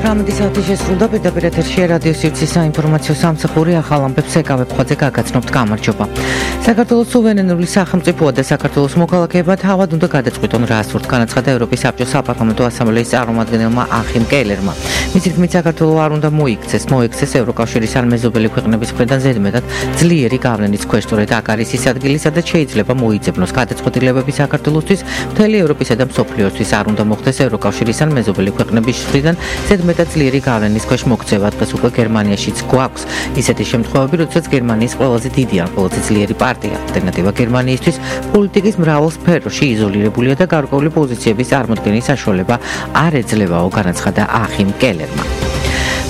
18 შესრულდა პირდაპირ ეთერში რადიო სივრცის საინფორმაციო სამსახური ახალ ამბებს ეკავებ ხოძე გაგაცნობთ გამარჯობა. საქართველოს სუვერენული სახელმწიფოა და საქართველოს მოქალაქეებმა თავად უნდა გადაწყვიტონ რა სურთ, განაცხადა ევროპის საბჭოს საპარლამენტო ასამბლეის წარმომადგენელმა ახიმ კელერმა. მისი თქმით, საქართველოს არ უნდა მოიქცეს ევროკავშირის ან მეზობელი ქვეყნების მხრიდან ზედმეტად ძლიერი გავლენის ქვეშ, სწორედ აქ არის ის ადგილი, სადაც შეიძლება მოიძებნოს გადაწყვეტილებები საქართველოსთვის, მთელი ევროპისა და მსოფლიოსთვის არ უნდა მოხდეს ევროკავშირის ან მეზობელი ქვეყნების მხრიდან ზედმეტად ძლიერი გავლენის ქვეშ მოქცევა. დღეს უკვე გერმანიაშიც გვაქვს ისეთი შემთხვევები, როდესაც გერმანიის ყველაზე დიდი ან ყველაზე ძლიერი პარტია ალტერნატივა გერმანიისთვის პოლიტიკის მრავალ სფეროში იზოლირებულია და გარკვეული პოზიციების წარმოქმნის საშუალება არ ეძლევაო, განაცხადა ახიმ კელერმა.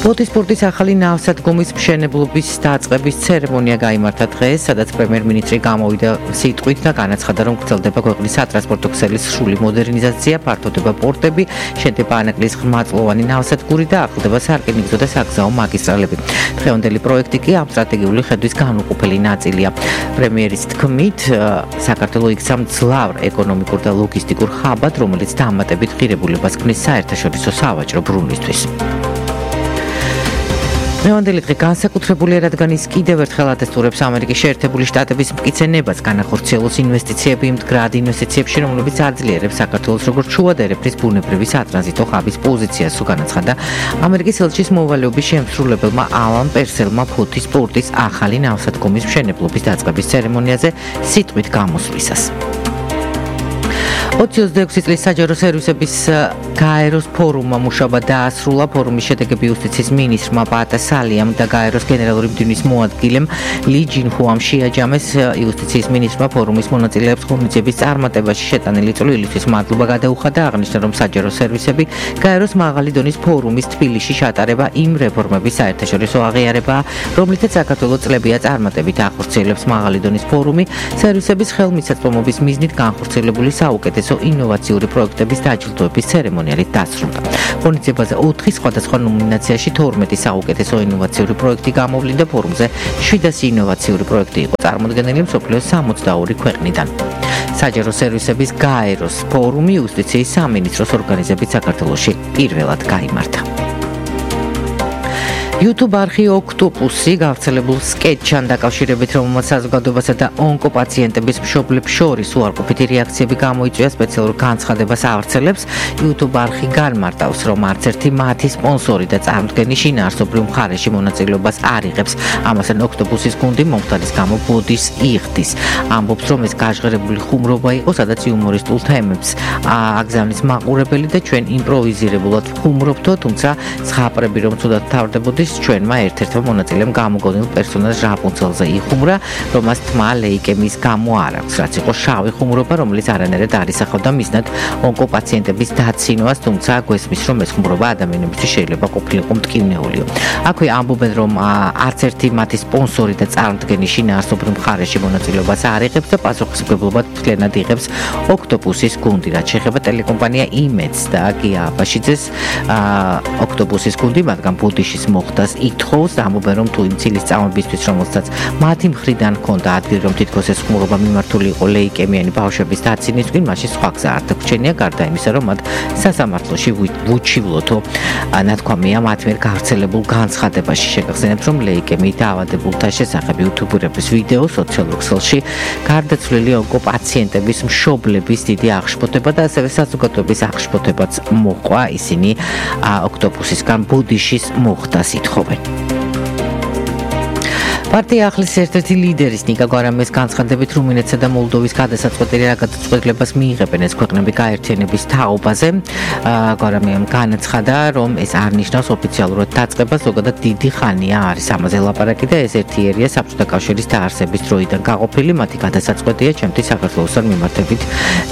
სპორტის ახალი ნავსადგომის მშენებლობის დაწყების ცერემონია გაიმართა დღეს, სადაც პრემიერ-მინისტრი გამოვიდა სიტყვით და განაცხადა, რომ გრძელდება ქვეყნის სატრანსპორტო ქსელის სრული მოდერნიზაცია, ფართოვდება პორტები, შენდება ანაკლის ღრმაწლოვანი ნავსადგური და ახლდება სარკინიგზო და საგზაო მაგისტრალები. დღევანდელი პროექტი კი ამ სტრატეგიული ხედვის განუყოფელი ნაწილია. პრემიერის თქმით, საქართველოს იქცა მძლავრ ეკონომიკურ და ლოგისტიკურ ხაბად, რომელიც დამატებით ღირებულებას ქმნის საერთაშორისო სავაჭრო ბრუნვისთვის. დღევანდელი დღე განსაკუთრებულია, რადგან ის კიდევ ერთხელ ატესტურებს ამერიკის შეერთებული შტატების მტკიცებებას განახორციელოს ინვესტიციები იმ მდგრად ინვესტიციებში, რომლებიც აძლიერებს საქართველოს როგორც შუა და ერეფრის ბუნებრივი სატრანზიტო ხაბის პოზიციას, განაცხადა ამერიკის ელჩის მოვალეობის შემსრულებელმა ალან პერსელმა ფოთის პორტის ახალი ნავსადგომის მშენებლობის დაწყების ცერემონიაზე სიტყვით გამოსვლისას. 26 წლის საჯარო სერვისების გაეროს ფორუმმა მუშაობა დაასრულა. ფორუმის შედეგები იუსტიციის მინისტრმა პატა სალიამ და გაეროს გენერალური მდივნის მოადგილემ ალი ჯინჰუამ შეაჯამეს. იუსტიციის მინისტრმა ფორუმის მონაწილეებს ღონისძიების წარმატებაში შეტანილი წვლილისთვის მადლობა გადაუხადა, აღნიშნა, რომ საჯარო სერვისები გაეროს მაღალი დონის ფორუმის თბილისში შეტარება იმ რეფორმების საერთაშორისო აღიარებაა, რომლითაც საქართველოს წლებია წარმატებით ახორციელებს მაღალი დონის ფორუმი სერვისების ხელმისაწვდომობის მიზნით განხორციელებული საუკეთესო ინოვაციური პროექტების დაჯილდოების ცერემონიალით დასრულდა. ღონისძიებაზე 4 სხვადასხვა ნომინაციაში 12 საუკეთესო ინოვაციური პროექტი გამოვლინდა. ფორუმზე 700 ინოვაციური პროექტი იყო წარმოდგენილი მსოფლიოს 62 ქვეყნიდან. საჯარო სერვისების გაეროს ფორუმი იუსტიციის სამინისტროს ორგანიზებით საქართველოში პირველად გაიმართა. YouTube არხი ოქტოპუსი გავრცელებულ სკეტჩთან დაკავშირებით, რომელმაც საზოგადოებასა და ონკოპაციენტების მშობლებს შორის უარყოფითი რეაქციები გამოიწვია, სპეციალურ განცხადებას ავრცელებს. YouTube არხი განმარტავს, რომ არც ერთი მათი სპონსორი და წარმოდგენის შინაარსობრივ მხარეში მონაწილეობას არ იღებს. ამასთან ოქტოპუსის გუნდი მომხდარის გამო ბოდის იხდის. ამბობს, რომ ეს გაჟღერებული ხუმრობა იყო, სადაც იუმორისტულ თემებს აგზავნის მაყურებელი და ჩვენ იმპროვიზირებულად ვხუმრობთო, თუმცა ზღაპრები რომ ცუდად თავდებოდეს, ჩვენმა ერთ-ერთმა მონაწილემ გამოგონილ პერსონაჟ რაპუნცელზე იხუმრა, რომ მას თმა ლეიკემიის გამო არ აქვს, რაც იყო შავი ხუმრობა, რომელიც არანაირად არ ისახავდა მიზნად ონკოპაციენტების დაცინვას, თუმცა გვესმის, რომ ეს ხუმრობა ადამიანებისთვის შეიძლება ყოფილიყო მტკივნეულიო. აქვე ამბობენ, რომ არც ერთი მათი სპონსორი და წარმოდგენის შინაარსობრივ მხარეში მონაწილეობას არ იღებს და პასუხისმგებლობას მთლიანად იღებს ოქტოპუსის გუნდი. რაც შეეხება ტელეკომპანია იმედს და გია აბაშიძეს, ოქტოპუსის გუნდი მათგან ბოდიშის მოხდა ითხოვს, ამბობენ, რომ თუ იმ ცილის წამებისთვის, რომელსაც მათი მხრიდან ჰქონდა ადგილი, რომ თითქოს ეს ხუმრობა მიმართული იყო ლეიკემიანი ბავშვების დაცინვისკენ, მაშინ სხვა გზა არ დაგვრჩენია, გარდა იმისა, რომ მათ სასამართლოში ვუჩივლოთო ნათქვამია მათ მიერ გავრცელებულ განცხადებაში. შეგახსენებთ, რომ ლეიკემიით დაავადებულთა შესახებ იუთუბერების ვიდეო სოციალურ ქსელში გარდაცვლილი ონკოპაციენტების მშობლების დიდი აღშფოთება და ასევე საზოგადოების აღშფოთებაც მოყვა. ისინი ოქტოპუსისგან ბოდიშის მოხდას ითხოვენ. პარტია ახლის ერთ-ერთი ლიდერის ნიკა გვარამიას განცხადებით, რუმინეთსა და მოლდოვის გადასაწყვეტილი რა გადაწყვეტილებას მიიღებენ ეს ქვეყნები გაერთიანების თაობაზე. გვარამიამ განაცხადა, რომ ეს არ ნიშნავს ოფიციალურად დაწყებას, ზოგადად დიდი ხანია არის ამაზე ლაპარაკი და ეს ერთიერია საბჭოთა კავშირის დაარსების დროიდან გაყოფილი, მათი გადასაწყვეტია ჩემთვის საქართველოსთან მიმართებით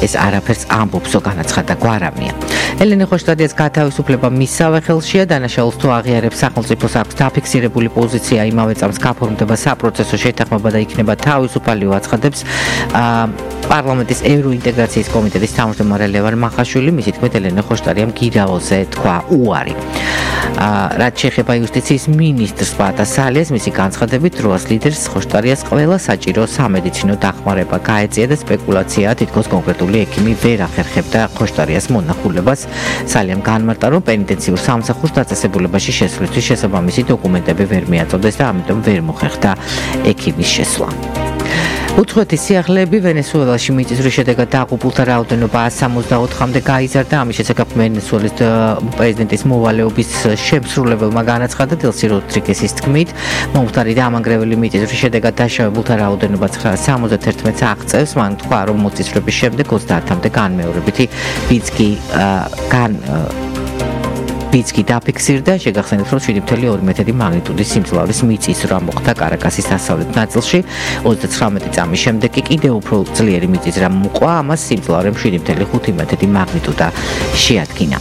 ეს არაფერს ამბობსო, განაცხადა გვარამია. ელენე ხოშტადიას გათავისუფლება მისსავე ხელშია, დანაშაულს თუ აღიარებს სახელმწიფოს აქვს დაფიქსირებული პოზიცია, იმავე წამს გაფორმდება საპროცესო შეთანხმება და იქნება თავისუფალიო აცხადებს პარლამენტის ევროინტეგრაციის კომიტეტის თავმჯდომარე ლევან მახაშვილი. მისი თქმით, ელენე ხოშტარიამ გირაოზე თქვა უარი. რაც შეეხება იუსტიციის მინისტრს პატას სალიას, მისი განცხადებით, დროას ლიდერს ხოშტარიას ყველა საჭირო სამედიცინო დახმარება გაეწია და სპეკულაციაა, თითქოს კონკრეტული ექიმი ვერ ახერხებდა ხოშტარიას მონახულებას. სალიამ განმარტა, რომ პენიტენციურ სამსახურს დაწესებულებაში შესვლისთვის შესაბამისი დოკუმენტები ვერ მიაწოდეს და ამიტომ ვერ მოხერხდა ექიმის შესვლა. უცხოეთის სიახლეები ვენესუელაში მიწისძვრის შედეგად დაღუპულთა რაოდენობა 164-მდე გაიზარდა. ამის შესახებ ვენესუელის პრეზიდენტის მოვალეობის შემსრულებელმა განაცხადა დელსი როდრიგესის თქმით, მომხდარი და ამანგრეველი მიწისძვრის შედეგად დაშავებულთა რაოდენობა 971-ს აღწევს. მან თქვა, რომ მოწისრების შემდეგ 30-მდე განმეორებითი ბიძგი დაფიქსირდა. შეგახსენებთ, რომ 7.2 მაგნიტუდის სიმძლავრის მიწისძვრა მოხდა კარაკასის დასავლეთ ნაწილში. 39 წამის შემდეგ კი კიდევ უფრო ძლიერი მიწისძვრა მოყვა. ამას სიმძლავრემ 7.5 მაგნიტუდა შეადგინა.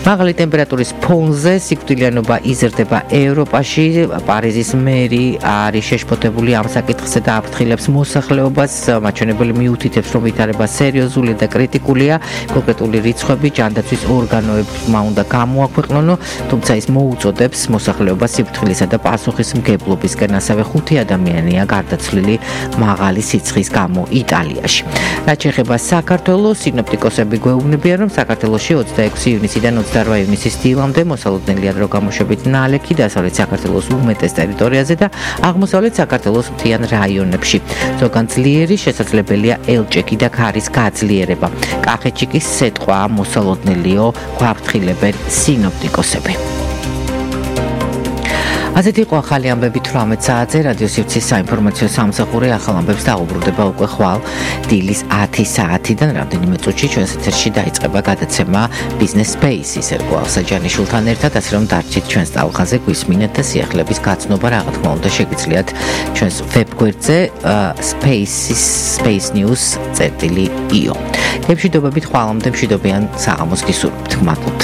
მაღალი ტემპერატურის ფონზე სიკვდილიანობა იზრდება ევროპაში. პარიზის მერი არის შეშფოთებული ამ საკითხზე და აფრთხილებს მოსახლეობას. მაჩვენებელი მიუთითებს, რომ ვითარება სერიოზული და კრიტიკულია. კონკრეტული რიცხვები ჯანდაცვის ორგანოებმა უნდა გამოაქვეყნონ, თუმცა ის მოუწოდებს მოსახლეობას სიფრთხილისა და პასუხისმგებლობისკენ. ასევე 5 ადამიანია გარდაცვლილი მაღალი სიცხის გამო იტალიაში. რაც შეეხება საქართველოს, სინოპტიკოსები გვეუბნებიან, რომ საქართველოში 26 ივნისიდან 28 ივნისის დილამდე მოსალოდნელია დრო გამოშვებით ნალექი დასავლეთ საქართველოს უმეტეს ტერიტორიაზე და აღმოსავლეთ საქართველოს მთიან რაიონებში. ზოგან ძლიერი შესაძლებელია ელჭექი და ქარის გაძლიერება. კახეთში კი სეტყვაა მოსალოდნელიო, გვაფრთხილებენ სინოპტიკოსები. ასეთი იყო ახალი ამბები 18 საათზე რადიო სივრცის საინფორმაციო სამსახური. ახალ ამბებს დაუბრუნდება უკვე ხვალ დილის 10 საათიდან. რამდენიმე წუთში ჩვენს ეთერში დაიწყება გადაცემა Business Space-ის ერგო ალსაჯანიშვილთან ერთად, ასე რომ დარჩით ჩვენს ტალღაზე, გვისმინეთ და სიახლეების გაცნობა რა თქმა უნდა შეგიძლიათ ჩვენს ვებგვერდზე spacenews.io. გემშვიდობებით ხვალამდე მშვიდობიან საღამოს გისურვებთ. მადლობთ.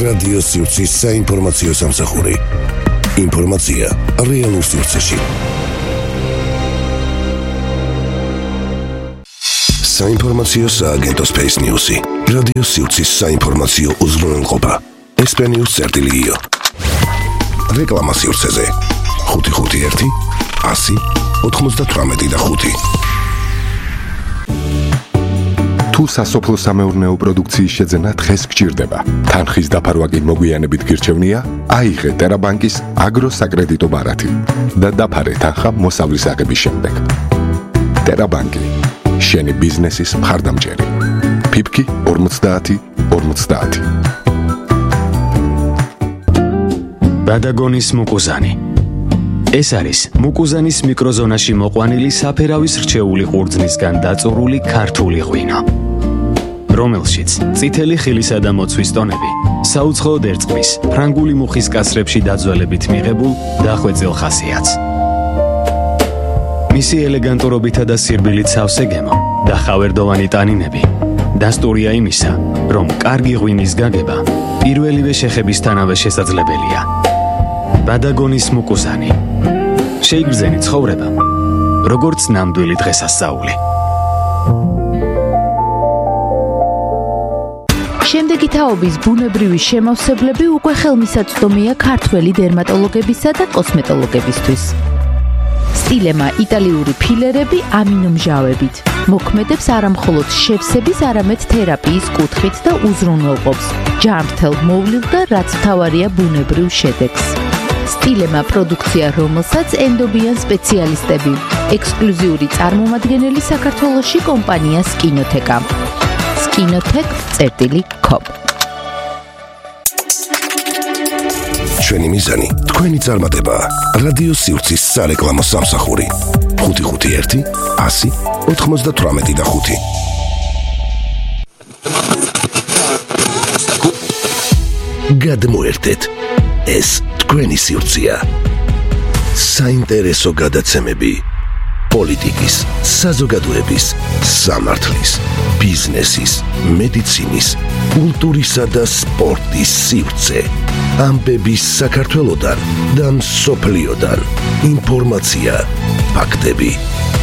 რადიო სივრცის საინფორმაციო სამსახური. ინფორმაცია რეალურ სივრცეში. საინფორმაციო სააგენტო Space News-ი. რადიო სივრცის საინფორმაციო უზრუნველყოფა. SP-News.io. რეკლამა სივრცეზე 551 100 98 თუ სასოფლო სამეურნეო პროდუქციის შეძენა დღეს გჭირდება. თანხის დაფარვა კი მოგვიანებით გირჩევნია, აიღე ტერაბანკის აგროსაკრედიტო ბარათი და დაფარე თანხა მოსავლის აღების შემდეგ. ტერაბანკი, შენი ბიზნესის მხარდამჭერი. ფიფკი 50-50. ბადაგონის მუკუზანი. ეს არის მუკუზანის მიკროზონაში მოყვანილი საფერავის რჩეული ყურძნისგან დაწურული ქართული ღვინო, რომელშიც წითელი ხილისა და მოცვის ტონები საუცხოოდ ერწყმის ფრანგული მუხის კასრებში დაძველებით მიღებულ დახვეწილ ხასიათს. მისი ელეგანტურობითა და სირბილით სავსე გემო და ხავერდოვანი ტანინები დასტურია იმისა, რომ კარგი ღვინის გაგება პირველივე შეხებისთანავე შესაძლებელია. ბადაგონის მუკუზანი. შეიგრძენი ცხოვრება, როგორც ნამდვილი დღესასწაული. შემდეგი თაობის ბუნებრივი შემავსებლები უკვე ხელმისაწვდომია ქართველი დერმატოლოგებისა და კოსმეტოლოგებისთვის. სტილემა იტალიური ფილერები ამინომჟავებით მოქმედებს არამხოლოდ შევსების, არამედ თერაპიის კუთხით და უზრუნველყოფს ჯანმრთელ მოვლილ და რაც მთავარია ბუნებრივ შედეგს. სტილემა პროდუქცია, რომელსაც ენდობიან სპეციალისტები. ექსკლუზიური წარმომადგენელი საქართველოში კომპანია სკინოთეკა. skinotech.com. ჩვენი მიზანი, თქვენი წარმატება. რადიო სივრცის სარეკლამო სამსახური. 551 100 98 გადმოერთეთ. ეს თქვენი სივრცეა. საინტერესო გადაცემები. პოლიტიკის, საზოგადოების, სამართლის, ბიზნესის, მედიცინის, კულტურისა და სპორტის სივრცე. ამბების საქართველოდან და მსოფლიოდან. ინფორმაცია, ფაქტები,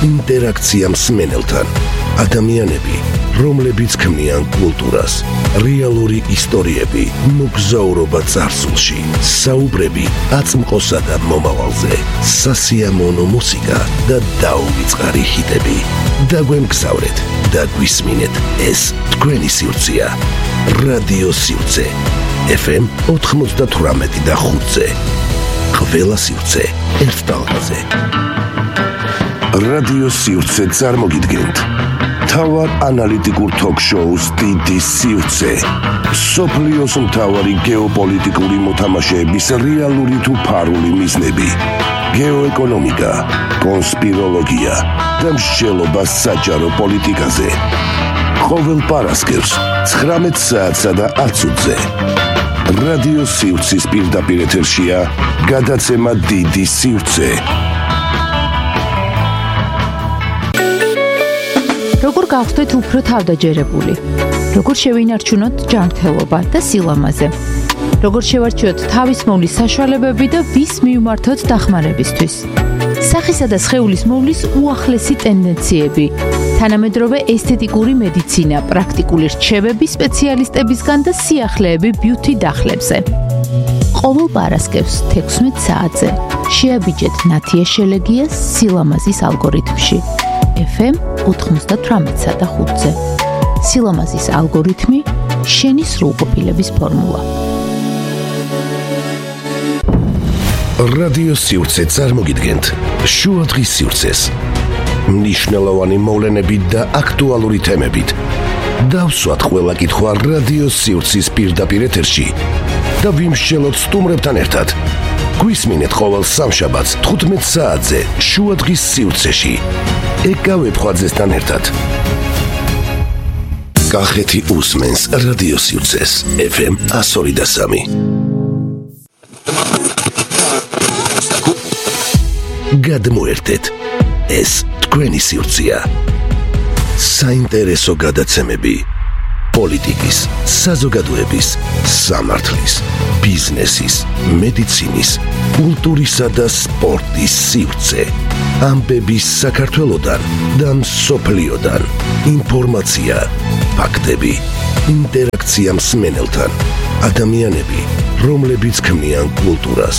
ინტერაქცია მსმენელთან. ადამიანები, რომლებიც ქმნიან კულტურას, რეალური ისტორიები, მოგზაურობა წარსულში, საუბრები აწმყოსა და მომავალზე, სასიამოვნო მუსიკა და დაუვიწყარი ჰიტები. დაგვემგზავრეთ და გვისმინეთ, ეს თქვენი სივრცეა. რადიო სივრცე FM 98 და 5-ზე. ყველა სივრცე ერთ ტალღაზე. რადიო სივრცე წარმოგიდგენთ თავარ ანალიტიკურ თოქ-შოუს დიდი სივრცე. სოფლიოს მთავარი გეოპოლიტიკური მოთამაშეების რეალური თუ ფარული მიზნები. გეოეკონომიკა, კონსპიროლოგია და მსჯელობა საჯარო პოლიტიკაზე. ყოველ პარასკევს 19 საათსა და 10 წუთზე. რადიო სივრცის პირდაპირ ეთერშია გადაცემა დიდი სივრცე. როგორ გავხდეთ უფრო თავდაჯერებული? როგორ შევინარჩუნოთ ჯანმრთელობა და სილამაზე? როგორ შევარჩიოთ თავის მოვლის საშუალებები და ვის მივმართოთ დახმარებისთვის? სახისა და სხეულის მოვლის უახლესი ტენდენციები, თანამედროვე ესთეტიკური მედიცინა, პრაქტიკული რჩევები სპეციალისტებისგან და სიახლეები ბიუთი დახლებზე. ყოველ პარასკევს 16 საათზე შეაბიჯეთ ნათია შელეგიას სილამაზის ალგორითმში. FM 98 და 5-ზე. სილამაზის ალგორითმი, შენი სრულყოფილების ფორმულა. რადიო სივრცე წარმოგიდგენთ შუადღის სივრცეს. მნიშვნელოვანი მოვლენებით და აქტუალური თემებით. დავსვათ ყველა კითხვა რადიო სივრცის პირდაპირ ეთერში და ვიმსჯელოთ სტუმრებთან ერთად. გვისმინეთ ყოველ სამშაბათს 15 საათზე შუადღის სივრცეში. ეკავებ ხვაძესთან ერთად. კახეთი უსმენს რადიო სივრცეს FM 102.3. გადმოერთეთ, ეს თქვენი სივრცეა. საინტერესო გადაცემები პოლიტიკის, საზოგადოების, სამართლის, ბიზნესის, მედიცინის, კულტურისა და სპორტის სივრცე. ამბების საქართველოდან და მსოფლიოდან. ინფორმაცია, ფაქტები, ინტერაქცია მსმენელთან. ადამიანები, რომლებიც ქმნიან კულტურას,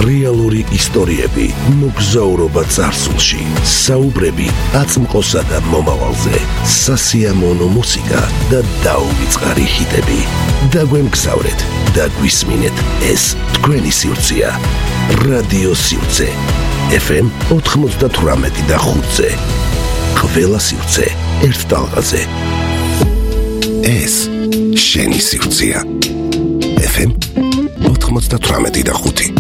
რეალური ისტორიები, მოგზაურობა წარსულში, საუბრები აწმყოსა და მომავალზე, სასიამოვნო მუსიკა და დაუვიწყარი ჰიტები. დაგვემგზავრეთ და გვისმინეთ, ეს თქვენი სივრცეა. რადიო სივრცე FM 98 და 5-ზე. ყველა სივრცე ერთ ტალღაზე. ეს შენი სივრცეა. FM 98 და 5.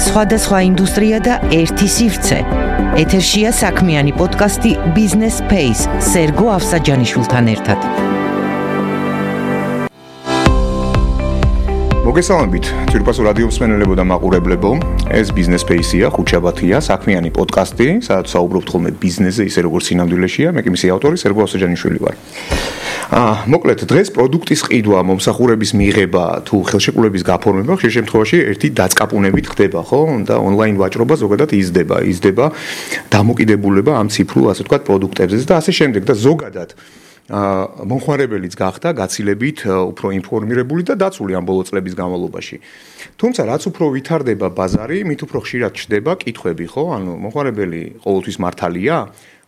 სხვადასხვა ინდუსტრია და ერთი სივრცე. ეთერშია საქმიანი პოდკასტი Business Space სერგო ავსაჯანიშვილთან ერთად. მოგესალმებით, თირკასო რადიო მსმენელებო და მაყურებლებო. ეს Business Space-ია, ხუთშაბათია, საქმიანი პოდკასტი, სადაც საუბრობთ ხოლმე ბიზნესზე, ისე როგორც სინამდვილეშია. მე კი მისი ავტორი სერგო ავსაჯანიშვილი ვარ. მოკლედ, დღეს პროდუქტის ყიდვა, მომსახურების მიღება თუ ხელშეკრულების გაფორმება ხშირ შემთხვევაში ერთი დაწყაპუნებით ხდება, ხო? და ონლაინ ვაჭრობა ზოგადად იზრდება დამოკიდებულება ამ ციფრულ, ასე ვთქვათ, პროდუქტებზე და ასე შემდეგ და ზოგადად მომხმარებელიც გახდა გაცილებით უფრო ინფორმირებული და დაცული ამ ბოლო წლების განმავლობაში. თუმცა რაც უფრო ვითარდება ბაზარი, მით უფრო ხშირად ჩდება კითხვები, ხო? ანუ მომხმარებელი ყოველთვის მართალია?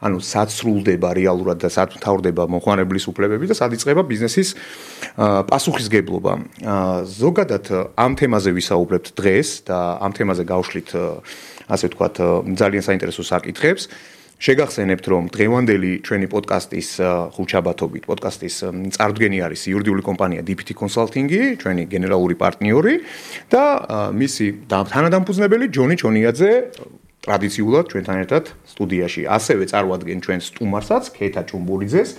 ანუ სად სრულდება რეალურად და სად მთავრდება მომხმარებლის უფლებები და სად იწყება ბიზნესის პასუხისგებლობა. ზოგადად ამ თემაზე ვისაუბრებთ დღეს და ამ თემაზე გავშლით ასე ვთქვათ ძალიან საინტერესო საკითხებს. შეგახსენებთ, რომ დღევანდელი ჩვენი პოდკასტის ხუთშაბათობით პოდკასტის წარდგენი არის იურიდიული კომპანია DPT Consulting-ი, ჩვენი გენერალური პარტნიორი და მისი თანადამფუძნებელი ჯონი ჩონიაძე ტრადიციულად ჩვენთან ერთად სტუდიაში. ასევე წარვადგენ ჩვენ სტუმარსაც, ქეთა ჭუმბურიძეს,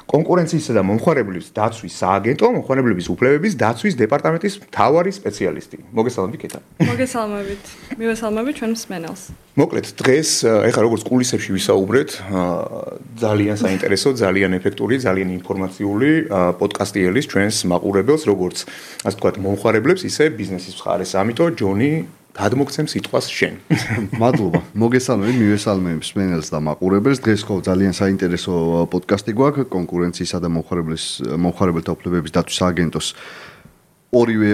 კონკურენციისა და მომხმარებლების დაცვის სააგენტო, მომხმარებლების უფლებების დაცვის დეპარტამენტის მთავარი სპეციალისტი. მოგესალმებით, კეთა. მოგესალმებით. მივესალმებით ჩვენ მსმენელს. მოკლედ, დღეს ეხლა როგორც კულისებში ვისაუბრეთ, ძალიან საინტერესო, ძალიან ეფექტური, ძალიან ინფორმაციული პოდკასტი ელის ჩვენს მაყურებელს, როგორც ასე ვთქვათ, მომხმარებლებს, ისე ბიზნესის მხარეს. ამიტომ ჯონი გადმოგცემ სიტყვას შენ. მადლობა. მოგესალმებით, მივესალმებით მსმენელს და მაყურებელს. დღეს ხო ძალიან საინტერესო პოდკასტი გვაქვს კონკურენციისა და მომხმარებელთა უფლებების დაცვის სააგენტოს ორივე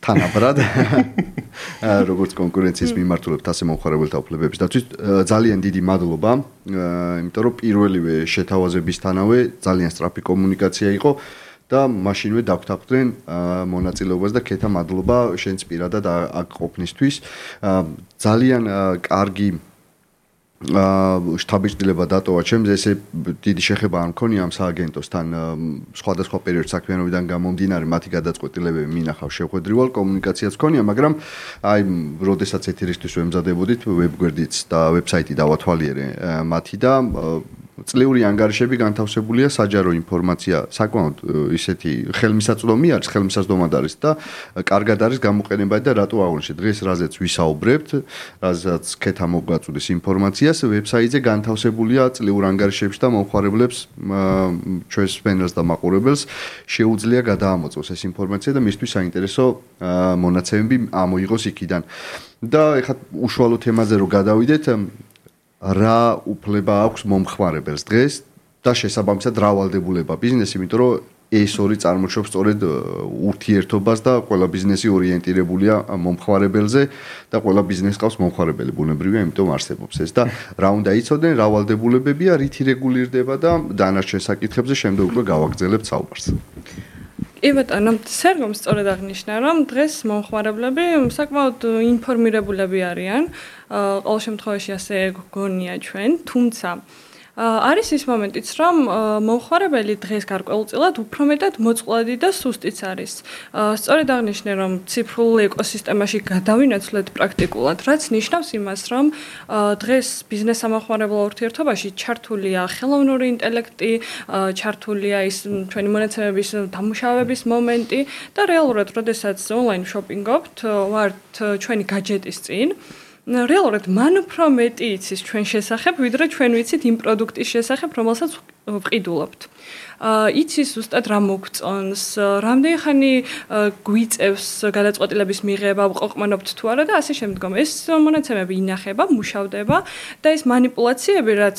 თანაბრად. როგორც კონკურენციის მიმართულებით, ასე მომხმარებელთა უფლებების დაცვის ძალიან დიდი მადლობა, იმიტომ რომ პირველივე შეთავაზებისთანავე ძალიან სწრაფი კომუნიკაცია იყო. და მაშინვე დაგვთანხმდნენ მონაწილეობას და ქეთა მადლობა შენც პირადად აქ ყოფნისთვის. ძალიან კარგი შტაბის-დილება დატოვა ჩემს, ესე დიდი შეხება არ მქონია ამ სააგენტოსთან სხვადასხვა პერიოდ საქმიანობიდან გამომდინარე, მათი გადაწყვეტილებები მინახავ შეხვედრივალ, კომუნიკაციაც მქონია, მაგრამ აი, როდესაც ეთერისთვის ვემზადებოდით, ვებგვერდიც და ვებსაიტი დავათვალიერე მათი და წლიური ანგარიშები განთავსებულია, საჯარო ინფორმაცია საკმაოდ ისეთი ხელმისაწვდომი არის, ხელმისაწვდომად არის და კარგად არის გამოყენებადი და რატო აღნიშნე დღეს რაზეც ვისაუბრებთ, რაზეც ქეთა მოგვაწვდის ინფორმაციას, ვებსაიტზე განთავსებულია წლიურ ანგარიშებში და მომხმარებლებს ჩვენს მსმენელს და მაყურებელს შეუძლია გადაამოწმოს ეს ინფორმაცია და მისთვის საინტერესო მონაცემები ამოიღოს იქიდან. და ეხლა უშუალო თემაზე რო გადავიდეთ, რა უფლება აქვს მომხმარებელს დღეს და შესაბამისად რა ვალდებულება ბიზნესი, იმიტომ რომ ეს ორი წარმოშობს სწორედ ურთიერთობას და ყველა ბიზნესი ორიენტირებულია მომხმარებელზე და ყველა ბიზნესს ყავს მომხმარებელი, ბუნებრივია, იმიტომ არსებობს ეს და რა უნდა იცოდნენ, რა ვალდებულებებია, რითი რეგულირდება და დანარჩენ საკითხებზე შემდეგ უკვე გავაგრძელებთ საუბარს. კი ბატონო, სერგომ სწორედ აღნიშნა, რომ დღეს მომხმარებლები საკმაოდ ინფორმირებულები არიან. ყოველ შემთხვევაში ასე გონია ჩვენ, თუმცა არის ის მომენტიც, რომ მომხმარებელი დღეს გარკვეულწილად უფრო მეტად მოწყვლადი და სუსტიც არის. სწორედ აღნიშნე, რომ ციფრულ ეკოსისტემაში გადავინაცვლეთ პრაქტიკულად, რაც ნიშნავს იმას, რომ დღეს ბიზნეს-სამომხმარებლო ურთიერთობაში ჩართულია ხელოვნური ინტელექტი, ჩართულია ის ჩვენი მონაცემების დამუშავების მომენტი და რეალურად, როდესაც ონლაინ შოპინგობთ, ვართ ჩვენი გაჯეტის წინ, რეალურად მან უფრო მეტი იცის ჩვენ შესახებ, ვიდრე ჩვენ ვიცით იმ პროდუქტის შესახებ, რომელსაც ვყიდულობთ. იცის ზუსტად რა მოგწონს, რამდენი ხანი გვიწევს გადაწყვეტილების მიღება, ვყოყმანობთ თუ არა და ასე შემდგომ. ეს მონაცემები ინახება, მუშავდება და ეს მანიპულაციები, რაც